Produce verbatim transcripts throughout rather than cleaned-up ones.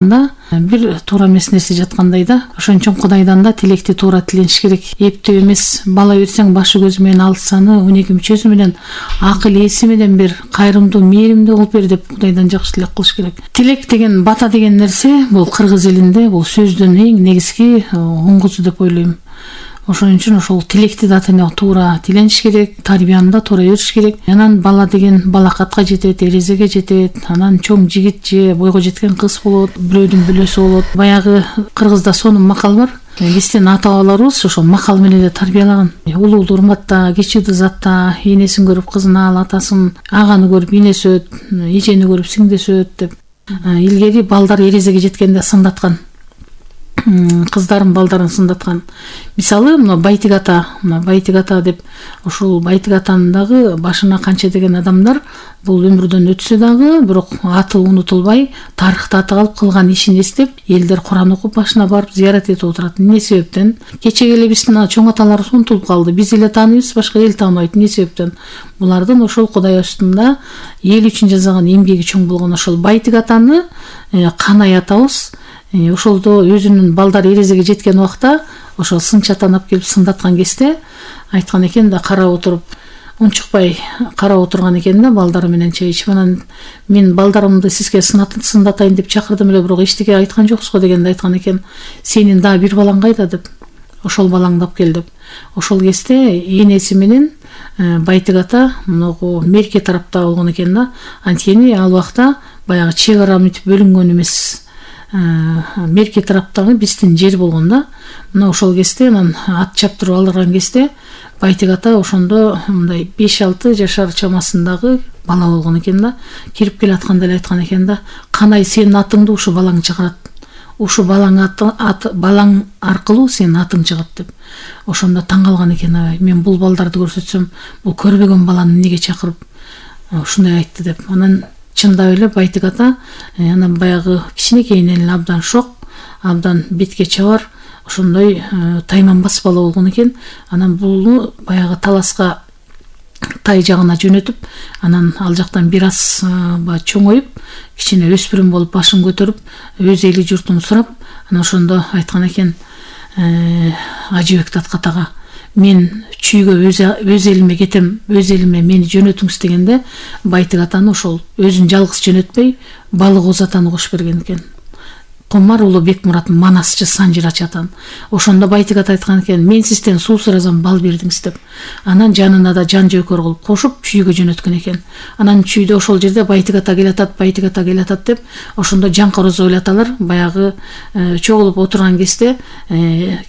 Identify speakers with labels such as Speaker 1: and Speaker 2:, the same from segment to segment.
Speaker 1: бир туура эмес нерсе жаткандай да. Ошон үчүн Кудайдан да тилекти туура тилениш керек. Эптеп эмес бала берсең башы көзү менен алсаны, он эки мүчөсү менен акыл эси менен бер, кайрымдуу, мээримдүү кылып бер деп Кудайдан жакшы тилек кылыш керек. Тилек деген, бата деген нерсе бул кыргыз элинде бул сөздүн эң негизги оңгусу деп ойлойм. Ошон үчүн ошол тилекти да туура тилениш керек, тарбияны да туура бериш керек. Анан бала деген балакатка жетет, эрезеге жетет, анан чоң жигит же бойго жеткен кыз болот, бирөөдүн бүлөсү болот. Баягы кыргызда сонун макал бар. Биздин ата бабаларыбыз ошол макал менен эле тарбиялаган. Улууду урматта, кичүүдү затта, энесин көрүп кызын ал, атасын, аганы көрүп инеси өт, эжени көрүп сиңдеси өт деп. Илгери балдар эрезеге жеткенде сындаткан. Кыздарын, балдарын сындаткан. Мисалы, мына Байтик ата, мына Байтик ата деп, ошол Байтик атанын дагы башына канча деген адамдар бул өмүрдөн өтсө дагы, бирок аты унутулбай, тарыхта аты калып, кылган ишин эстеп, элдер Куран окуп башына барып зыярат этип отурат. Эмне себептен? Кечеге эле биздин чоң аталарыбыз унутулуп калды. Биз эле тааныйбыз, башка эл тааныбайт. Эмне себептен? Булардын ошол Кудай астында эл үчүн жасаган эмгеги чоң болгон ошол Байтик атаны Канай атабыз ошолдо өзүнүн балдары эрезеге жеткен убакта ошол сынчы атаны алып келип сындаткан кезде айткан экен да, карап отуруп, унчукпай карап отурган экен да, балдары менен чай ичип. Анан мен балдарымды сизге сындатайын деп чакырдым эле, бирок эчтеке айткан жоксуз го дегенде айткан экен, сенин дагы бир балаң кайда деп, ошол балаңды алып кел деп. Ошол кезде энеси менен Байтик ата могу мерке тарапта болгон экен да. Анткени ал убакта баягы чек ара мынтип бөлүнгөн эмес. Мерке тараптагы биздин жер болгон да. Мына ошол кезде анан ат чаптырып алдырган кезде Байтик ата ошондо мындай беш алты жашар чамасындагы бала болгон экен да. Кирип келатканда эле айткан экен да, Канай сенин атыңды ушу балаң чыгарат. Ушу балаң аты, аты балаң аркылуу сенин атың чыгат деп. Ошондо таң калган экен, мен бул балдарды көрсөтсөм, бул көрбөгөн баланы эмнеге чакырып ушундай айтты деп. Анан чындап эле Байтик ата анан баягы кичинекейинен эле абдан шок, абдан бетке чабар, ошондой тайманбас бала болгон экен. Анан булну баягы таласка тай жагына жөнөтүп, анан ал жактан бир аз чоңоюп, кичине өспүрүм болуп башын көтөрүп, өз эли журтун сурап, анан ошондо айткан экен Ажыбек Таткатага, мен чүйгө өз элиме кетем, өз элиме мени жөнөтүңүз дегенде, Байтик атаны ошол өзүн жалгыз жөнөтпөй, Балык Оз атаны кошуп берген экен. Комар уулу Бекмурат Манасчы Санжырач атан. Ошондо Байтик ата айткан экен, мен сизден суу суразам, бал бердиңиз деп. Анан жанына да жан жөөкөр кылып кошуп чүйгө жөнөткөн экен. Анан чүйдө ошол жерде Байтик ата келатат, Байтик ата келатат деп, ошондо Жаңкороз ойлоталар, баягы чогулуп отурган кезде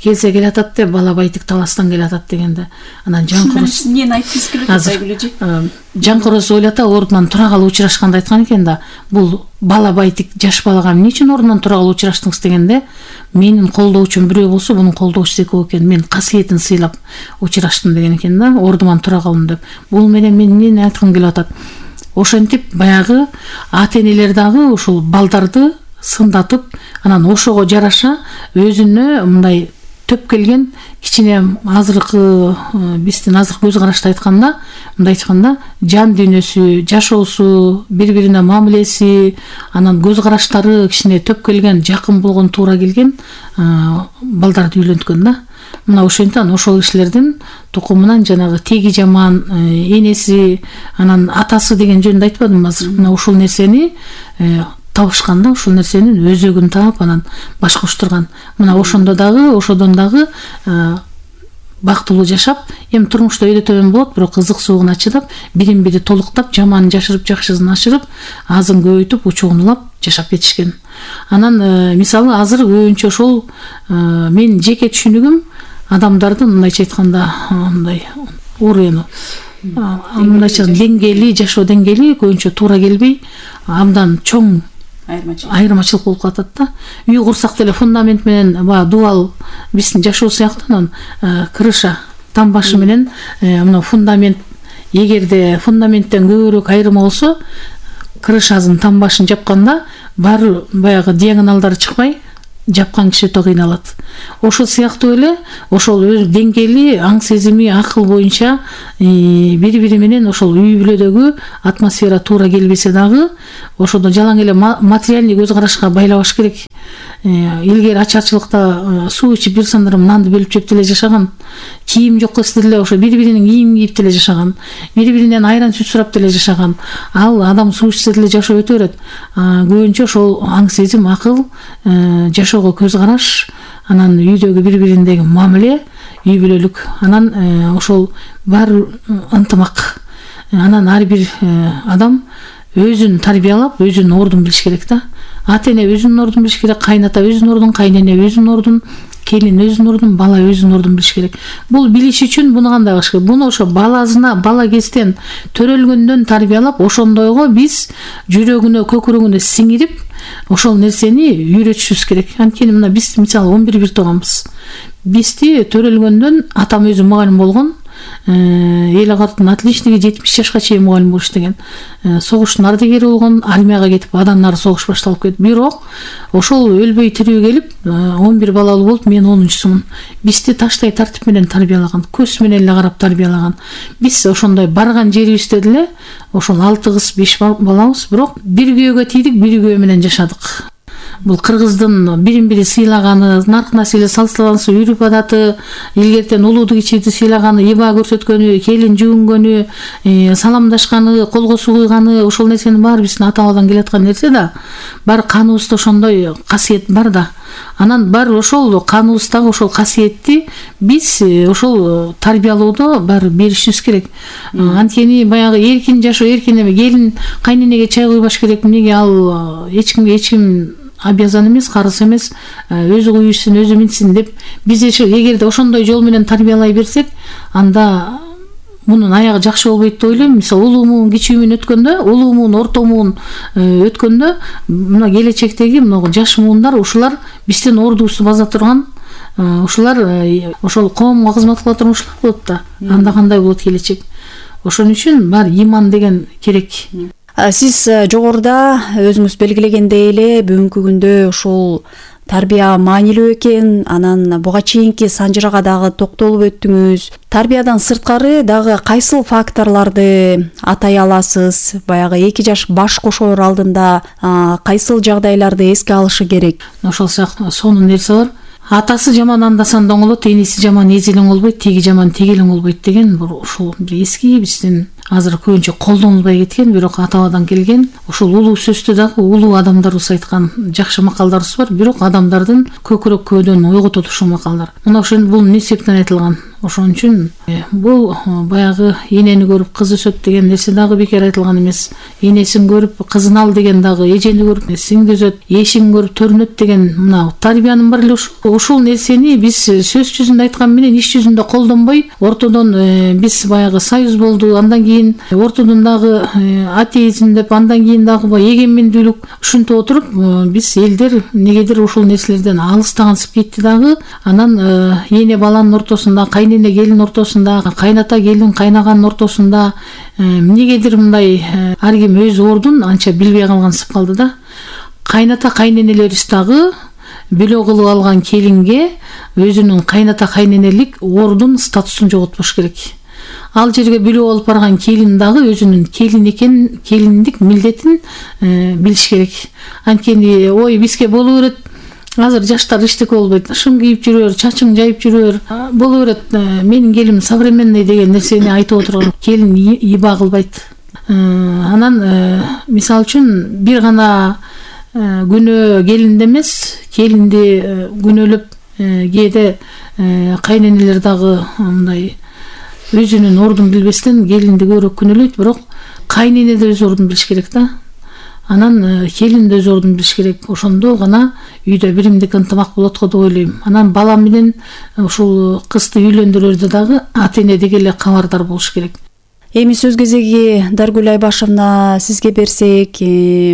Speaker 1: келсе келатат деп, бала Байтик таластан келатат дегенде. Анан Жаңкороз
Speaker 2: эмнени айткыңыз келет Байгүлөжи?
Speaker 1: Жаңкороз ойлота ордунан тура калып учурашканда айткан экен да, бул бала Байтик жаш балага эмне үчүн ордунан тура калып учураштыңыз дегенде, менин колдоочум бирөө болсо, мунун колдоочусу экөө экен, мен касиетин сыйлап учураштым деген экен да, ордуман тура калдым деп. Бул менен мен эмнени айткым келип атат? Ошентип баягы ата-энелер дагы ушул балдарды сындатып, анан ошого жараша өзүнө мындай төп келген кичине азыркы биздин азыркы көз карашты айтканда, мындай айтканда, жан дүйнөсү, жашоосу, бири-бирине мамилеси, анан көз караштары кичине төп келген, жакын болгон, туура келген балдарды үйлөнткөн да. Мына ошентип ошол кишилердин тукумунан жанагы теги жаман энеси, анан атасы деген жөнүндө айтпадым азыр. Мына ушул нерсени табышканда, ушул нерсенин өзөгүн таап, анан баш коштурган. Мына ошондо дагы, ошодон дагы бактылуу жашап, эми турмушта өйдө төмөн болот, бирок кызык суугуна чыдап, бирин бири толуктап, жаманын жашырып, жакшысын ашырып, азын көбөйтүп, учуунулап жашап кетишкен. Анан мисалы азыр көбүнчө ошол мен жеке түшүнүгүм адамдардын мындайча айтканда, мындай уровень, мындайча деңгээли, жашоо деңгээли көбүнчө туура келбей, абдан чоң айырмачылык болуп калат да. Үй курсак деле фундамент менен баягы дубал биздин жашоо сыяктуу, анан крыша там башы менен мына фундамент, эгерде фундаменттен көбүрөөк айырма болсо, крышасын там башын жапканда баары баягы диагоналдары чыкпай, жапкан киши то кыйналат. Ошол сыяктуу эле ошол өз деңгээли аң сезими акыл боюнча бири бири менен ошол үй бүлөдөгү атмосфера туура келбесе дагы ошондо жалаң эле материальный көз карашка байлабаш керек. Илгери ачарчылыкта суу ичип бир сандырым нанды бөлүп жеп деле жашаган, кийим жок кылып деле ошо бири биринин кийимин кийип деле жашаган, бири биринен айран сүт сурап деле жашаган. Ал адам суу ичсе деле жашоо өтө берет. Көбүнчө ошол аң сезим, акыл, жашоого көз караш, анан үйдөгү бири бириндеги мамиле, үй бүлөлүк, анан ошол баары ынтымак. Анан ар бир адам өзүн тарбиялап, өзүнүн ордун билиш керек да. Ата эне өзүнүн ордун билиш керек, кайната өзүнүн ордун, кайнене өзүнүн ордун, келин өзүнүн ордун, бала өзүнүн ордун билиш керек. Бул билиш үчүн буну кандай кылыш керек? Буну ошо баласына, бала кезден төрөлгөндөн тарбиялап, ошондойго биз жүрөгүнө, көкүрөгүнө сиңирип, ошол нерсени үйрөтүшүбүз керек. Анткени мына биз мисалы он бир бир тууганбыз. Бизди төрөлгөндөн атам өзү мугалим болгон. Эл агаттын отличниги жетимиш жашка чейин мугалим болуш деген. Согуштун ардагери болгон, армияга кетип, андан ары согуш башталып кетти. Бирок ошол өлбөй тирүү келип, он бир балалуу болуп, мен онунчусумун. Бизди таштай тартип менен тарбиялаган, көз менен эле карап тарбиялаган. Биз ошондой барган жерибизде деле ошол алты кыз, беш балабыз, бирок бир күйөөгө тийдик, бир күйөө менен жашадык. Бул кыргыздын бирин бири сыйлаганы, нарк населе салыстыргансы, үрүп адаты, илгертен улууду кичиди сыйлаганы, иба көрсөткөнү, келин жуунгөнү, саламдашканы, колго суу куйганы, ошол нерсенин баары биздин ата бабадан келаткан нерсе да. Бар каныбызда ошондой касиет бар да. Анан бар ошол каныбыздагы ошол касиетти биз ошол тарбиялоодо бар беришибиз керек. Анткени баягы эркин жашоо, эркин эме, келин кайненеге чай куйбаш керек, эмнеге ал эч кимге эч ким обязан эмес, карыз эмес, өзү куйушсун, өзү минсин деп биз эгерде ошондой жол менен тарбиялай берсек, анда мунун аягы жакшы болбойт деп ойлойм. Мисалы улуумун, кичүүмүн өткөндө, улуумун, ортомун өткөндө, мына келечектеги мына жаш муундар ушулар биздин ордубузду база турган, ушулар ошол коомго кызмат кыла турган ушулар болот да. Анда кандай болот келечек? Ошон үчүн бар иман деген керек.
Speaker 3: Сиз жогоруда өзүңүз белгилегендей эле бүгүнкү күндө ушул тарбия маанилүү экен, анан буга чейинки санжырага дагы токтолуп өттүңүз. Тарбиядан сырткары дагы кайсыл факторлорду атай аласыз? Баягы эки жаш баш кошоор алдында кайсыл жагдайларды эске алышы керек?
Speaker 1: Ошол сыяктуу сонун нерсе бар. Атасы жаман андасан доңолот, энеси жаман эзилең болбойт, теги жаман тегелең болбойт деген ушул бир эски биздин азыр көбүнчө колдонулбай кеткен, бирок ата бабадан келген. Ошол улуу сөздө дагы улуу адамдарыбыз айткан жакшы макалдарыбыз бар, бирок адамдардын көкүрөк көөдөн ойготот ушул макалдар. Мына ошол бул эмне себептен айтылган? Ошон үчүн бул баягы энени көрүп кыз өсөт деген нерсе дагы бекер айтылган эмес. Энесин көрүп кызын ал деген дагы эжени көрүп сиңди өсөт, эшин көрүп төрүнөт деген мына тарбиянын бар эле ушул. Ушул нерсени биз сөз жүзүндө айткан менен иш жүзүндө колдонбой, ортодон биз баягы союз болду, андан кийин ортодон дагы атеизм деп, андан кийин дагы эгемендүүлүк ушинтип отуруп биз элдер негедир ушул нерселерден алыстагансып кетти дагы. Анан эне баланын ортосунда, кайнене келин ортосунда, кайната келин кайнаганын ортосунда эмнегедир мындай ар ким өз ордун анча билбей калгансып калды да. Кайната кайненелерибиз дагы бөлө кылып алган келинге өзүнүн кайната кайненелик ордун, статусун жоготпош керек. Ал жерге бөлө алып барган келин дагы өзүнүн келин экен, келиндик милдетин билиш керек. Анткени ой бизге боло берет, азыр жаштар эчтеке болбойт, шым кийип жүрөр, чачың жайып жүрөр, боло берет, менин келиним современный деген нерсени айтып отурган келин иба кылбайт. Анан мисалы үчүн бир гана күнөө келинде эмес, келинди күнөөлөп кээде кайненелер дагы мындай өзүнүн ордун билбестен келинди көбүрөөк күнөөлөйт, бирок кайнене да өз ордун билиш керек да. Анан келин да өз ордун билиш керек. Ошондо гана үйдө биримдик ынтымак болот го деп ойлойм. Анан бала менен ушул кызды үйлөндүрөрдө дагы ата эне деги эле кабардар болуш керек.
Speaker 3: Эми сөз кезеги Даргүл Айбашевна сизге берсек,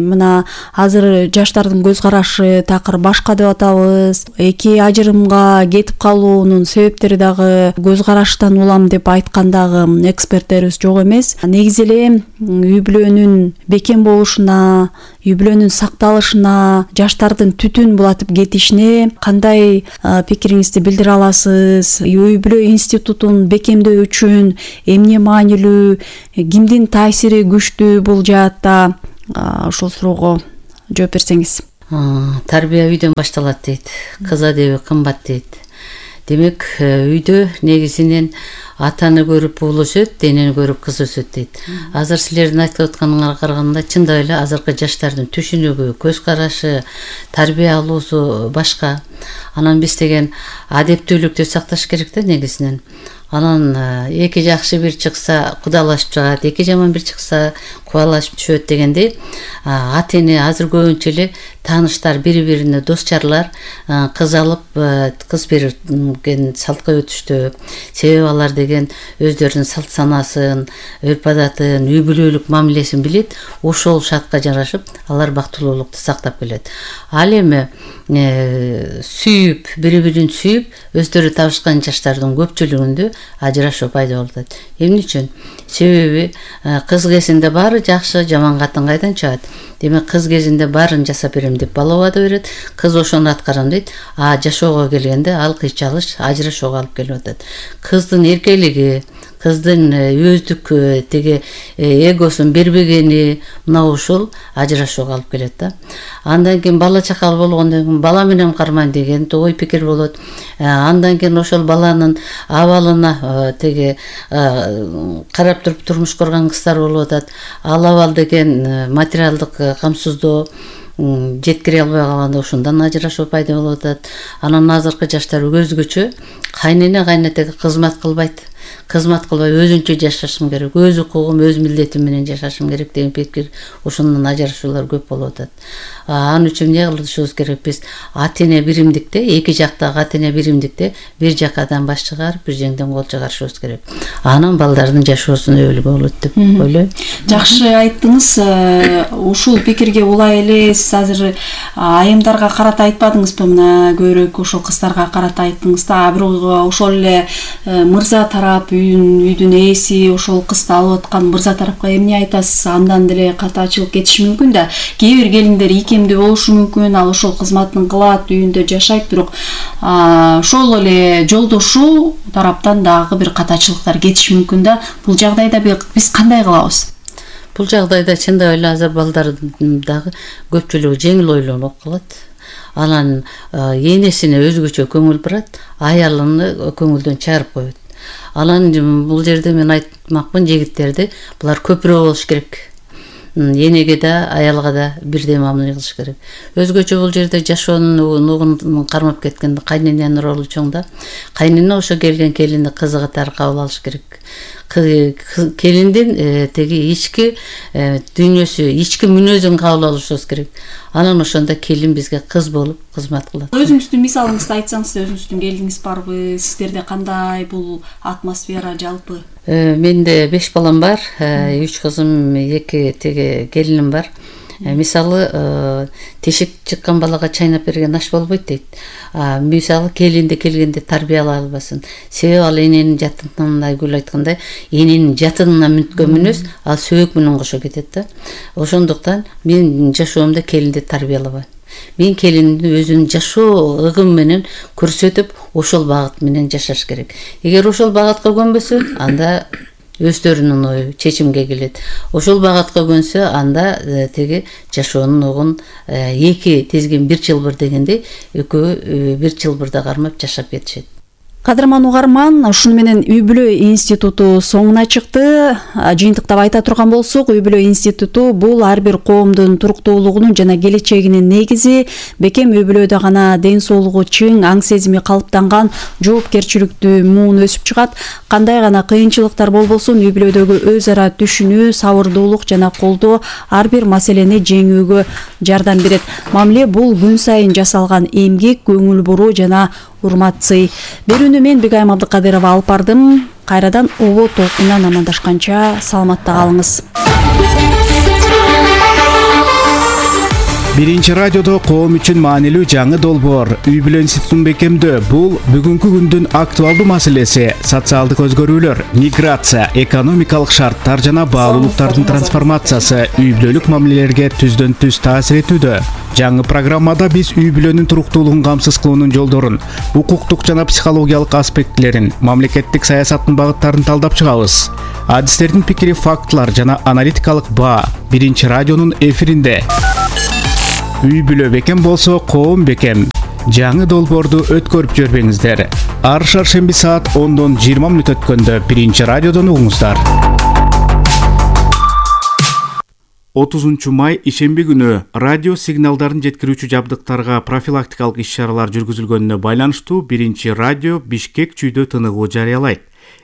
Speaker 3: мына азыр жаштардын көз карашы такыр башка деп атабыз. Эки ажырымга кетип калуунун себептери дагы көз караштан улам деп айткан дагы эксперттерибиз жок эмес. Негизи эле үй бүлөнүн бекем болушуна, үй бүлөнүн сакталышына, жаштардын түтүн булатып кетишине кандай пикириңизди билдире аласыз? Үй бүлө институтун бекемдөө үчүн эмне маанилүү, кимдин таасири күчтүү бул жаатта? Ошол суроого жооп берсеңиз.
Speaker 4: Тарбия үйдөн башталат дейт. Кыз адеби кымбат дейт. Демек, үйдө негизинен атаны көрүп уул өсөт, денени көрүп кыз өсөт дейт. Азыр силердин айтып атканыңарга караганда чындап эле азыркы жаштардын түшүнүгү, көз карашы, тарбия алуусу башка. Анан биз деген адептүүлүктү сакташ керек да негизинен. Анан эки жакшы бир чыкса кудалашып чыгат, эки жаман бир чыкса кубалашып түшөт дегендей, ата эне азыр көбүнчө эле тааныштар бири-бирине дос-чарлар кыз алып, кыз берген салтка өтүштү. Себеби алар деген өздөрүнүн салт санасын, өрп адатын, үй бүлөлүк мамилесин билет, ошол шартка жарашып, алар бактылуулукту сактап келет. Ал эми сүйүп, бири-бирин сүйүп, өздөрү табышкан жаштардын көпчүлүгүндө ажырашуу пайда болот. Эмне үчүн? Себеби кыз кезинде баары жакшы, жаман катын кайдан чыгат? Демек, кыз кезинде баарын жасап берем деп бала убада берет, кыз ошону аткарам дейт, а жашоого келгенде ал кыйчалыш ажырашууга алып келип атат. Кыздын эркелиги, кыздын өздүк теге эгосун бербегени, мына ушул ажырашууга алып келет да. Андан кийин бала чакал болгондон кийин бала менен кармайм деген ой пикир болот. Андан кийин ошол баланын абалына теге карап туруп турмуш курган кыздар болуп атат. Ал абал деген материалдык камсыздоо жеткире албай калганда ошондон ажырашуу пайда болуп атат. Анан азыркы жаштар өзгөчө, кайнене кайнетеге кызмат кылбайт. Кызмат кылбай өзүнчө жашашым керек, өз укугум, өз милдетим менен жашашым керек деген пикир, ошондон ажырашуулар көп болуп атат. Ал үчүн эмне кылышыбыз керек? Биз ата эне биримдикте, эки жактагы ата эне биримдикте бир жакадан баш чыгарып, бир жеңден кол чыгарышыбыз керек. Анан балдардын жашоосуна өбөлгө болот деп ойлойм.
Speaker 2: Жакшы айттыңыз. Ушул пикирге улай эле сиз азыр айымдарга карата айтпадыңызбы? Мына көбүрөөк ошол кыздарга карата айттыңыз да. Бирок ошол эле мырза тарап, үйдүн ээси ошол кызды алып аткан мырза тарапка эмне айтасыз? Андан деле катаачылык кетиши мүмкүн да. Кээ бир келиндер ийкемдүү болушу мүмкүн, ал ошол кызматын кылат, үйүндө жашайт, бирок ошол эле жолдошу тараптан дагы бир катаачылыктар кетиши мүмкүн да. Бул жагдайда биз кандай кылабыз?
Speaker 4: Бул жагдайда чындап эле азыр балдардын дагы көпчүлүгү жеңил ойлонуп калат. Анан энесине өзгөчө көңүл бурат, аялыны көңүлдөн чыгарып коет. Анан бул жерде мен айтмакмын жигиттерди, булар көпүрө болуш керек. Энеге да, аялга да бирдей мамиле кылыш керек. Өзгөчө бул жерде жашоонун нугун кармап кеткенде кайнененин ролу чоң да. Кайнене ошо келген келинди кызы катары кабыл алыш керек. Келиндин теги ички дүйнөсү, ички мүнөзүн кабыл алышыбыз керек. Анан ошондо келин бизге кыз болуп кызмат кылат.
Speaker 2: Өзүңүздүн мисалыңызды айтсаңыз, өзүңүздүн келиниңиз барбы? Сиздерде кандай бул атмосфера жалпы?
Speaker 4: Менде беш балам бар, үч кызым, эки теге келиним бар. Мисалы, тешик чыккан балага чайнап берген аш болбойт дейт. Мисалы, келинди келгенде тарбиялай албасын. Себеби ал эненин жатынына, Гүл айткандай, эненин жатынына мүнткөн мүнөз, ал сөбөк менен кошо кетет да. Ошондуктан мен жашоомдо келинди тарбиялабайм. Мен келиндин өзүнүн жашоо ыгым менен көрсөтүп, ошол багыт менен жашаш керек. Эгер ошол багытка көнбөсө, анда өздөрүнүн ою чечимге келет. Ошол багатка көнсө, анда теги жашоонун угун эки тезген бир чылбыр дегенде, экөө бир чылбырда кармап жашап кетишет.
Speaker 3: Кадырман угарман, ушуну менен үй бүлө институту соңуна чыкты. Жыйынтыктап айта турган болсок, үй бүлө институту бул ар бир коомдун туруктуулугунун жана келечегинин негизи. Бекем үй бүлөдө гана ден соолугу чың, аң сезими калыптанган, жоопкерчиликтүү муун өсүп чыгат. Кандай гана кыйынчылыктар болбосун, үй бүлөдөгү өз ара түшүнүү, сабырдуулук жана колдоо ар бир маселени жеңүүгө жардам берет. Мамиле бул күн сайын жасалган эмгек, көңүл буруу жана урмат сый. Берүүнү мен Бигайым Абдыкадырова алып бардым. Кайрадан обо толкундан амандашканча саламатта калыңыз.
Speaker 5: Биринчи радиодо коом үчүн маанилүү жаңы долбоор үй бүлө институтун бекемдөө. Бул бүгүнкү күндүн актуалдуу маселеси. Социалдык өзгөрүүлөр, миграция, экономикалык шарттар жана баалуулуктардын трансформациясы үй бүлөлүк мамилелерге түздөн түз таасир этүүдө. Жаңы программада биз үй бүлөнүн туруктуулугун камсыз кылуунун жолдорун, укуктук жана психологиялык аспектилерин, мамлекеттик саясаттын багыттарын талдап чыгабыз. Адистердин пикири, фактылар жана аналитикалык баа Биринчи радионун эфиринде. Үй бүлө бекем болсо, коом бекем. Жаңы долбоорду өткөрүп жүрбөңүздөр. Ар шаршемби саат ондон жыйырма мүнөт өткөндө Биринчи радиодон угуңуздар. отузунчу май ишемби күнү радио сигналдарын жеткирүүчү жабдыктарга профилактикалык иш-чаралар жүргүзүлгөнүнө байланыштуу Биринчи радио Бишкек чүйдө тыныгуу жарыялайт.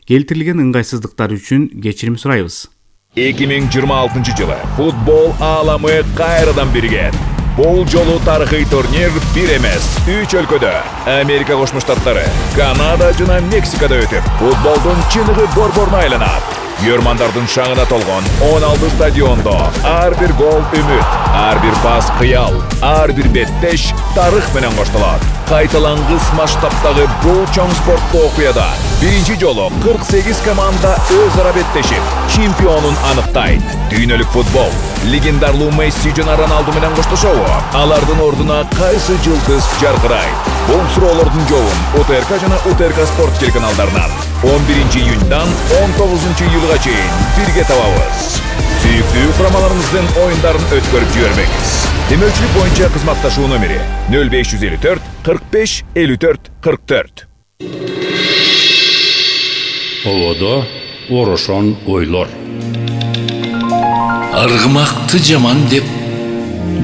Speaker 5: Келтирилген ыңгайсыздыктар үчүн кечирим сурайбыз.
Speaker 6: эки миң жыйырма алтынчы жылы футбол ааламы кайрадан биригет. Бул жолу тарыхый турнир бир эмес, үч өлкөдө, Америка Кошмо Штаттары, Канада жана Мексикада өтүп, футболдун чыныгы борборуна айланат. Көрмандардын шаңына толгон он алты стадиондо ар бир гол үмүт, ар бир пас кыял, ар бир беттеш тарых менен коштолот. Кайталангыс масштабтагы бул чоң спорттуу окуяда биринчи жолу кырк сегиз команда өз ара беттешип, чемпионун аныктайт. Дүйнөлүк футбол легендарлуу Месси жана Роналду менен коштошобу? Алардын ордуна кайсы жылдыз жаркырайт? Бул суроолордун жообун УТРК жана УТРК спорт телеканалдарынан он биринчи июньдан он тогузунчу июлга чейин бирге табабыз. Сүйүктүү курамаларыбыздын оюндарын өткөрүп жибербеңиз. Демөөрчүлүк боюнча кызматташуу номери нөл беш жүз элүү төрт кырк беш элүү төрт кырк төрт.
Speaker 7: Олодо орошон ойлор.
Speaker 8: Аргымакты жаман деп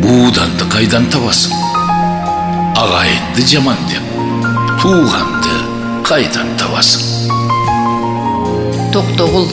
Speaker 8: бууданды кайдан табасың? Агайынды жаман деп тууганды кайдан табасың?
Speaker 9: Токтогул